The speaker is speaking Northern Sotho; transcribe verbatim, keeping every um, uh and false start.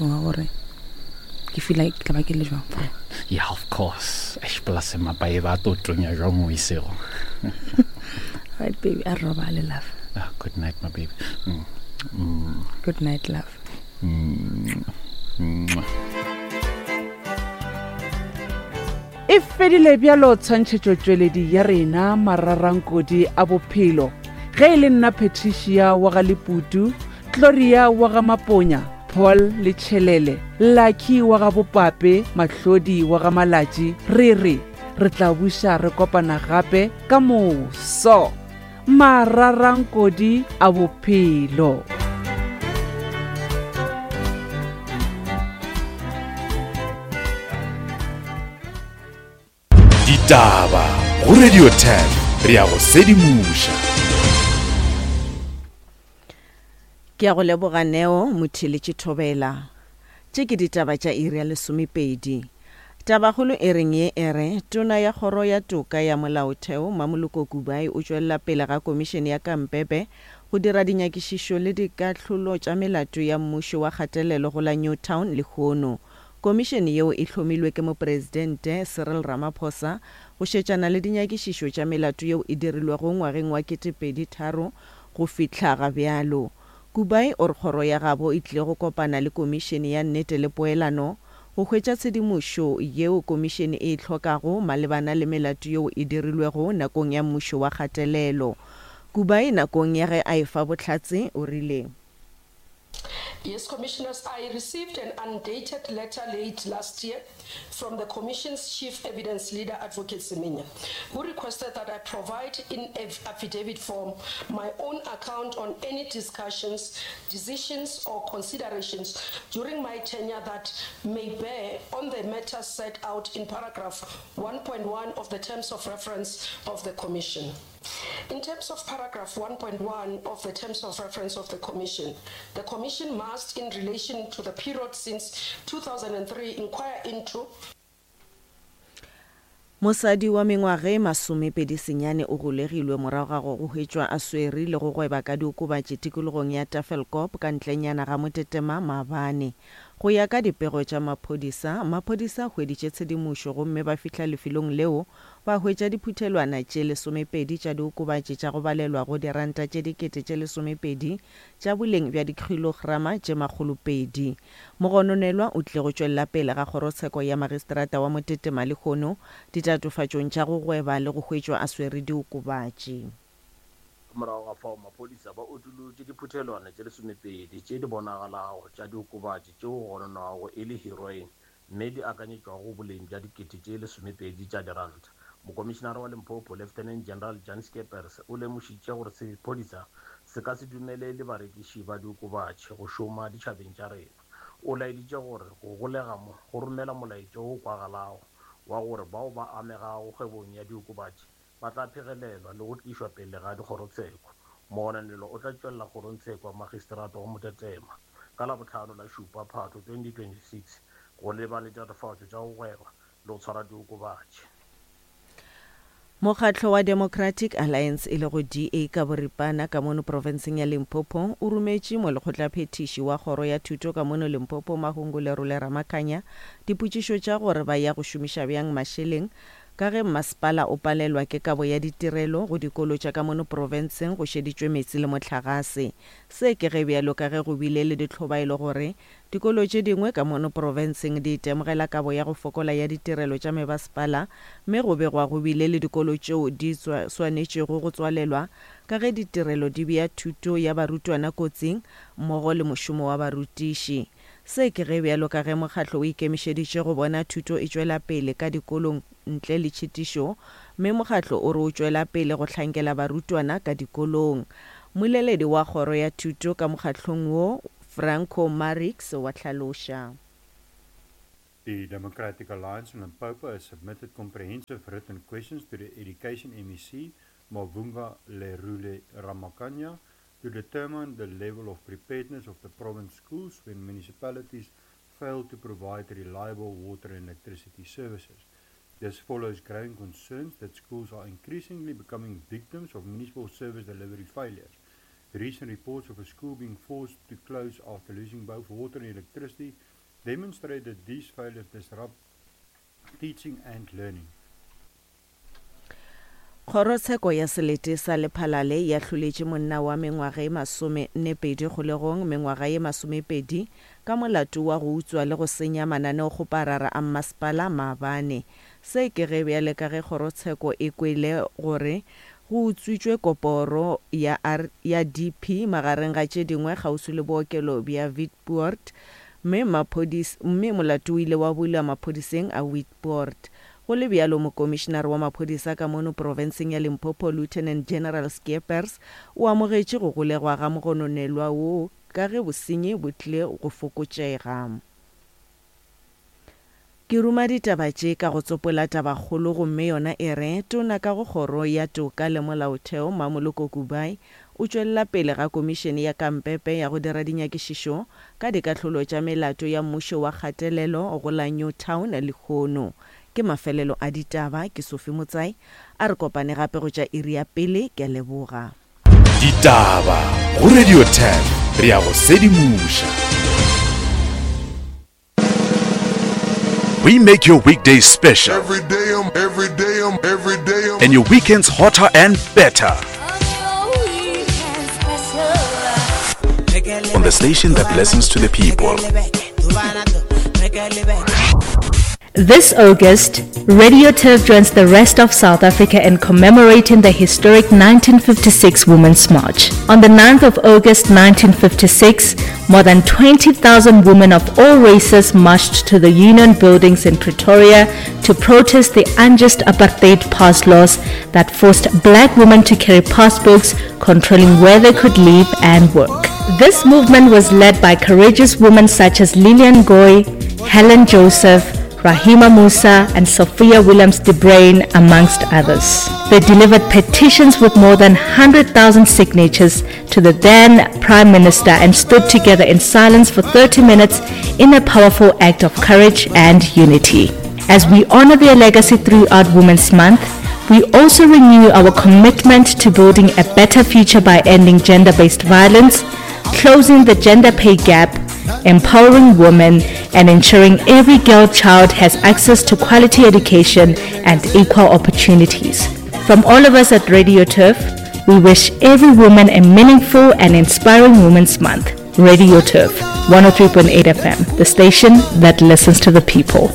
Wa gore ke feel like ke tla ba ke le jwang for Yeah, of course. Eish, plus mapae ba to tonya jwang mo isego. Right, baby, a re robale, love. Ah, good night, my baby. Mm. Mm. Good night, love. Mm. Mm. E fedile bjalo tshwantšhetšotšweledi ya rena mararankodi a bophelo. Ge e le nna Patricia wa ga Leputu, Gloria wa ga Maponya, Paul le Tšhelele, Lucky wa ga Bopape, Mahlodi wa ga Malatši, re re re tla buša re kopana gape ka moso. Mararankodi a bophelo. Ditaba go Radio ten re ya go sedimoša. Ke a go leboga Neo Motheletše Thobela. Tše ke ditaba tša iri ya lesomepedi. Tabakgolo e reng ye e re, Tona ya Kgoro ya Toka ya Molaotheo Mamoloko Kubayi o tšwelela pele ga Komišene ya Kampebe go dira dinyakišišo le dikahlolo tša melato ya mmušo wa kgatelelo go la Newtown lehono. Komišene yeo e hlomilwe ke Mopresidente Cyril Ramaphosa go šetšana le dinyakišišo tša melato yeo e dirilwego ngwageng wa ketepedi tharo go fihla ga bjalo. Kubayi o re kgoro ya gabo e tlile go kopana le Komišene ya Nnete le Poelano go hwetša tshedimošo yeo komišene e e hlokago malebana le melato yeo e dirilwego nakong ya mmušo wa kgatelelo. Kubayi nakong ya ge a efa bohlatse o rile. Yes, Commissioners, I received an undated letter late last year from the Commission's Chief Evidence Leader, Advocate Semenya, who requested that I provide in affidavit form my own account on any discussions, decisions or considerations during my tenure that may bear on the matters set out in paragraph one point one of the Terms of Reference of the Commission. In terms of paragraph one point one of the Terms of Reference of the Commission, the Commission must, in relation to the period since two thousand and three, inquire into Mosadi wa mengwaga e masomepedi senyane o golegilwe morago ga go hwetšwa a swere le go gweba ka diokobatši tikologong ya Tafelkop ka ntlenyana ga Motetema maabane. Go ya ka dipego tša maphodisa, maphodisa a hweditše tshedimošo gomme ba fihla lefelong leo ba hwetša diphuthelwana tše lesomepedi tša diokobatši tša go balelwa go diranta tše dikete tše lesomepedi tša boleng bja dikhilograma tše makgolopedi. Mogononelwa o tlile go tšwelela pele ga kgorotsheko ya magistrata wa Motetema lehono ditatofatšong tša go gweba le go hwetšwa a swere diokobatši. Ka morago ga fao maphodisa ba utolotše diphuthelwana tše lesomepedi tše di bonagalago tša diokobatši tšeo go gononwago e le heroin mme di akanyetšwago boleng bja dikete tše lesomepedi tša diranta. Mokomišenare wa Limpopo, Lieutenant General Jan Skeepers, o lemošitše gore sephodisa se ka se dumelele barekiši ba diokobatši go šoma ditšhabeng tša rena. O laeditše gore go golega mo go romela molaetša wo kwagalago wa gore bao ba amegago kgwebong ya diokobatši ba tla phegelelwa le go tlišwa pele ga dikgorotsheko. Mogononelwa o tla tšwelela kgorongtsheko ya magistrata wa Motetema ka Labohlano la šupa Phatho twenty twenty-six go leba le ditatofatšo tša go gweba le go tshwara diokobatši. Mokgatlo wa Democratic Alliance e lego D A ka boripana ka mono profenseng ya Limpopo o rometše molekgotlaphethiši wa kgoro ya thuto ka mono Limpopo Mahungu Lerole Ramakhanya dipotšišo tša gore ba ya go šomiša bjang mašeleng ka ge mmasepala o palelwa ke kabo ya ditirelo go dikolo tša ka mono profenseng go šeditšwe meetse le mohlagase. Se ke ge bjalo ka ge go bile le ditlhobaelo gore dikolo tše dingwe ka mono profenseng di itemogela kabo ya go fokola ya ditirelo tša mebasepala mme go begwa go bile le dikolo tšeo di swanetšego go tswalelwa ka ge ditirelo di bea thuto ya barutwana kotsing mmogo le mošomo wa barutiši. Se ke ge bjalo ka ge mokgatlo o ikemišeditše go bona thuto e tšwela pele ka dikolong ntle le tšhitišo mme mokgatlo o re o tšwela pele go hlankela barutwana ka dikolong. Moleledi wa kgoro ya thuto ka mokgatlong wo Franco Marix wa hlaloša. The Democratic Alliance in Limpopo has submitted comprehensive written questions to the Education M E C, Mavhunga Lerule Ramakhanya, to determine the level of preparedness of the province schools when municipalities fail to provide reliable water and electricity services. This follows growing concerns that schools are increasingly becoming victims of municipal service delivery failures. Recent reports of a school being forced to close after losing both water and electricity demonstrate that these failures disrupt teaching and learning. Kgorotsheko ya Selete sa Lephalale e ahloletše monna wa mengwaga e masome-nne pedi kgolegong mengwaga ye masomepedi ka molato wa go utswa le go senya mananeokgoparara a mmasepala maabane. Se ke ge bjale ka ge kgorotsheko e kwele gore go utswitšwe koporo ya ya D P magareng ga tše dingwe kgauswi le bookelo bja Witpoort mme maphodis mme molato o ile wa bulwa maphodiseng a Witpoort. Go le bjalo, Mokomišenare wa maphodisa ka mono profenseng ya Limpopo, Lieutenant General Scheepers, o amogetše go golegwa ga mogononelwa woo ka ge bosenyi bo tlile go fokotšega. Ke ruma ditaba tše ka go tsopola tabakgolo gomme yona e re, Tona ka go Kgoro ya Toka le Molaotheo, Mmamoloko Kubayi, o tšwelela pele ga Komišene ya Kampepe ya go dira dinyakišišo ka dikahlolo tša melato ya mmušo wa kgatelelo go la Newtown lehono. Ke mafelelo a ditaba, ke Sophie Motsai, a re kopane gape go tša iri ya pele, ke a leboga. Ditaba go Radio ten, re a go sedimoša. We make your weekdays special. Every day, I'm, every day, I'm, every day, I'm. And your weekends hotter and better. On the station that listens to the people. This August, Radio Turf joins the rest of South Africa in commemorating the historic nineteen fifty-six Women's March. On the ninth of August nineteen fifty-six, more than twenty thousand women of all races marched to the Union Buildings in Pretoria to protest the unjust apartheid pass laws that forced black women to carry passbooks controlling where they could live and work. This movement was led by courageous women such as Lillian Goy, Helen Joseph, Rahima Moosa and Sophia Williams de Bruyn, amongst others. They delivered petitions with more than one hundred thousand signatures to the then Prime Minister and stood together in silence for thirty minutes in a powerful act of courage and unity. As we honor their legacy throughout Women's Month, we also renew our commitment to building a better future by ending gender-based violence, closing the gender pay gap, empowering women, and ensuring every girl child has access to quality education and equal opportunities. From all of us at Radio Turf, we wish every woman a meaningful and inspiring Women's Month. Radio Turf, one oh three point eight F M, the station that listens to the people.